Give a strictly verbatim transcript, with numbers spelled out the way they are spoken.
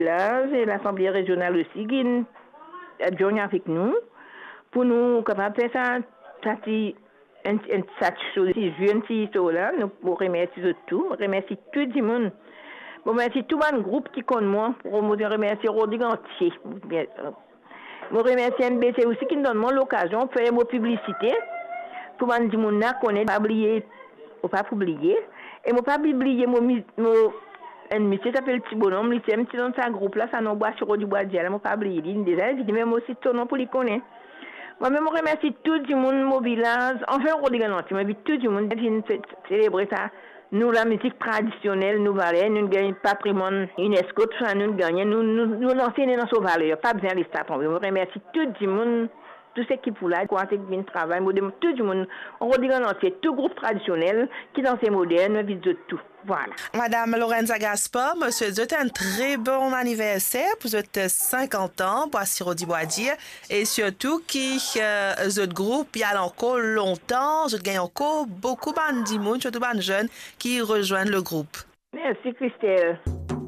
La, se Lasanble Rezional osi ki inn adjourn avek nou, pou nou kapav fer sa, sa ti, enn, enn, sa ti so, ti zwe, enn ti so la, nou pou remersie zot tou, remersie tou dimoun. Mo remersie tou bann group ki konn mwa, mo remersie Rodrig antie. Mo remersie M B C osi ki donn mwa lokazion fer mo piblisite pou bann dimoun la kone, pa bliye, mo pa pou bliye. E mo pa pou bliye mo, mo, enn misie ki apel Ti Bonom, li ti, ti dan sa group la, sa nom Bwa Siro di Bwa Dir la, mo pa bliye li, li deza invite, me mo sit so nom pou li kone. Mwa mem mo remersie tou dimoun mo vilaz, anfin Rodrig antie, mo invit tou dimoun vinn fe-, selebre sa. Nou, lamizik tradisionel, nou valer, nou gagn patrimwann UNESCO, tou sa nou gagn, nou, nou, nou lanse nou dan so valer, pa bizin les sa tonbe. Mo remersie tou dimoun, tou seki pou la, kouraze ki vinn travay, mo demann tou dimoun, Rodrig antie, tou group tradisionel ki dan se modern, nou invit zot tou. Vwala. Madam Lorenza Gaspar, mo swet zot enn tre bon aniverser pou zot sinkant an, Bwa Siro di Bwa Dir, e sirtou ki, eh, zot group li al ankor lontan, zot gagn ankor boukou bann dimoun, sirtou bann zenn ki rezwenn le group. Mersi, Christelle.